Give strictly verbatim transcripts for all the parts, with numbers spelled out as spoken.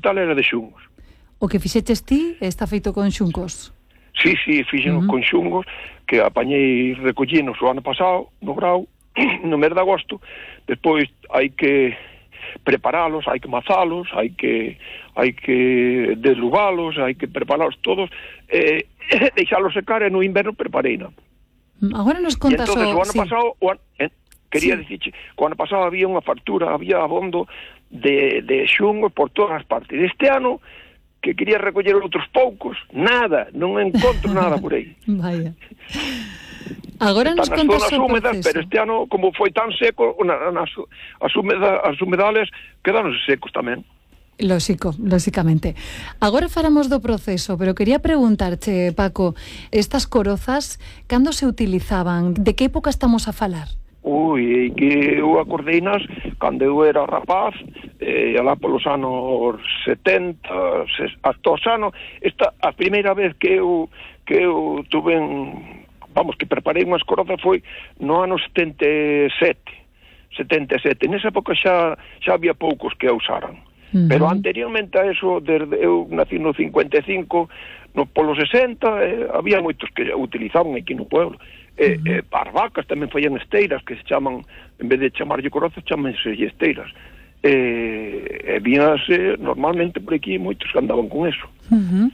quintal era de xungos. O que fixeches ti está feito con xuncos? Sí, sí, fixen uh -huh. con xungos, que apañei recollinos o ano pasado, no grau, no mes de agosto. Despois hai que preparalos, hai que mazalos, hai que hai que deslugalos, hai que preparalos todos, e eh, deixalos secar, e no inverno prepareina. Agora nos contas o... entonces o ano sí. pasado, o an... eh, quería sí. dicirche, o ano pasado había unha factura, había abondo de, de xungos por todas as partes. Este ano, que quería recoller outros poucos, nada, non encontro nada por aí. Vaya. Agora nos contas o húmedas, proceso. Pero este ano, como foi tan seco, na, nas, as, humeda, as humedales quedaron secos tamén. Lóxico, lóxicamente. Agora falamos do proceso, pero quería preguntarche, Paco, estas corozas, cando se utilizaban? De que época estamos a falar? Ui, que eu acordei nas cando eu era rapaz, eh, alá polos anos setenta, hasta os anos, esta a primeira vez que eu que eu tuve en, vamos, que preparei unhas corozas foi no ano setenta e sete. setenta e sete. Nesa época xa xa había poucos que a usaran. Uh -huh. Pero anteriormente a eso, desde eu nací no cincuenta e cinco, no polo sesenta, eh, había moitos que utilizaban aquí no pueblo. E, uh -huh. e as vacas tamén fallan esteiras, que se chaman, en vez de chamarlle corozas, chamanse esteiras. E, e víanse normalmente por aquí moitos que andaban con eso. Uh -huh.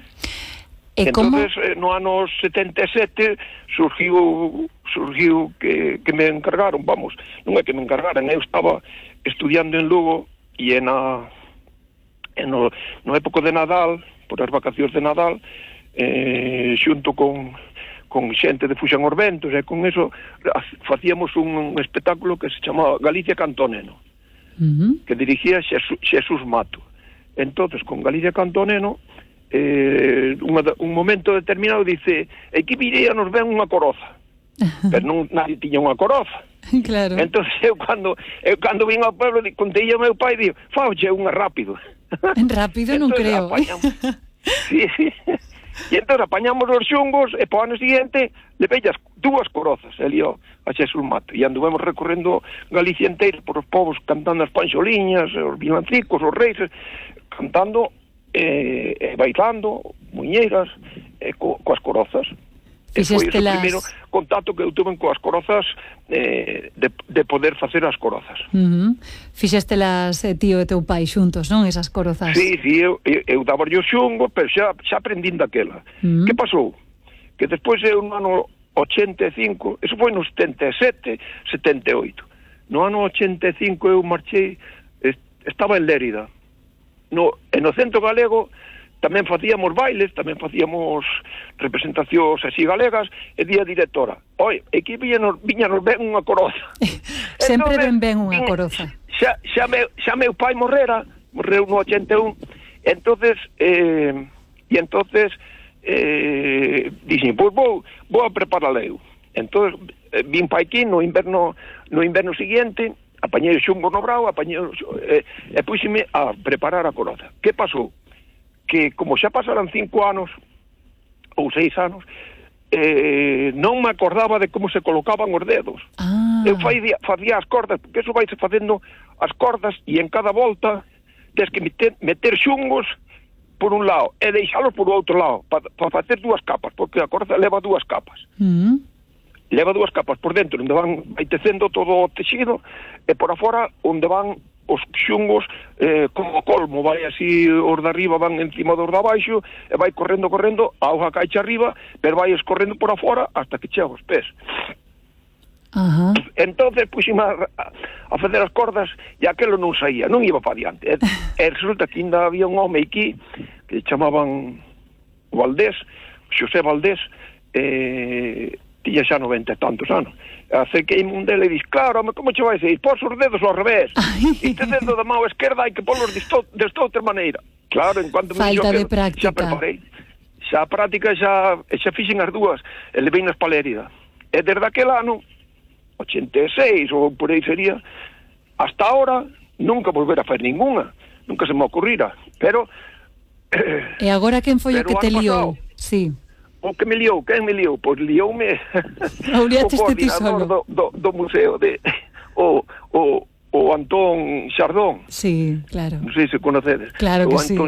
E entonces como... eh, no ano setenta e sete surgiu surgiu que, que me encargaron, vamos, non é que me encargaran, eu estaba estudiando en Lugo e en a en no, no época de Nadal, por as vacacións de Nadal, eh, xunto con con xente de Fuxan os Ventos, e con eso facíamos un, un espectáculo que se chamaba Galicia Cantoneno, uh -huh. que dirigía Xesús, Xesús Mato. Entonces, con Galicia Cantoneno, eh, un, un momento determinado dice, aquí viría nos ven unha coroza, pero non nadie tiña unha coroza. Claro. Entonces eu cando eu cando vim ao pueblo, contei ao meu pai, digo, fauche unha rápido. Rápido non creo. Sí, sí. E entón apañamos os xungos e po ano seguinte le vellas dúas corozas ali ó, a Xesús Mato, e anduvemos recorrendo Galicia inteira por os povos cantando as panxoliñas, os vilancicos, os reis, cantando e, e bailando muñeiras e co, coas corozas. E foi o primeiro contacto que eu tuve coas corozas, eh, de, de poder facer as corozas. Uh -huh. Fixestelas eh, tío e teu pai xuntos, non? Esas corozas. Sí, sí, eu, eu, eu daba o xungo, pero xa, xa aprendín daquela. Uh -huh. Que pasou? Que despois eu no ano ochenta e cinco, eso foi no setenta e sete, setenta e oito. No ano ochenta e cinco eu marchei, estaba en Lérida. No, e no Centro Galego tamén facíamos bailes, tamén facíamos representacións así galegas, e día directora, oi, aquí viñanos, viñanos ben unha coroza. Sempre ben ben unha coroza. Xa, xa, meu, xa meu pai morrera, morreu no ochenta e un, entonces, eh, e entonces, eh, dixen, pois vou, vou a preparala eu. Entonces, eh, vim pa aquí no inverno, no inverno seguinte, apañei o xungo no brao, apañei, eh, e puxime a preparar a coroza. Que pasou? Que como xa pasaran cinco anos ou seis anos, eh, non me acordaba de como se colocaban os dedos. Ah. Eu facía, facía as cordas, porque eso vai se facendo as cordas, e en cada volta tens que meter, meter xungos por un lado e deixalos por outro lado, para pa facer dúas capas, porque a corda leva dúas capas. Mm. Leva dúas capas por dentro, onde van vai tecendo todo o texido, e por afora onde van os xungos, eh, como colmo, vai así, os de arriba van encima dos de abaixo, e vai correndo, correndo, a hoja caixa arriba, pero vai escorrendo por afora hasta que chega aos pés. Ajá. Entonces puxime a, a facer as cordas, e aquelo non saía, non iba para diante. E, e resulta que ainda había un home aquí, que chamaban Valdés, Xosé Valdés, eh, tiña xa noventa e tantos anos. Acerquei un dele e dix, claro, home, como che vai ser? Pos os dedos ao revés. Este dedo da mão esquerda hai que polos desta outra maneira. Claro, en cuanto me falta dixo de práctica. Xa preparei. Xa a práctica xa, xa fixen as dúas, e levei nas palérida. E desde aquel ano, ochenta e seis ou por aí sería, hasta ahora nunca volver a fazer ninguna. Nunca se me ocurrira. Pero... Eh, e agora quen foi o que te liou? Sí. O que me liou, quen me liou? Pois lioume o coordinador do, do, do museo de o, o, o Antón Xardón. Sí, claro. Non sei se conocedes. Claro que o Antón sí.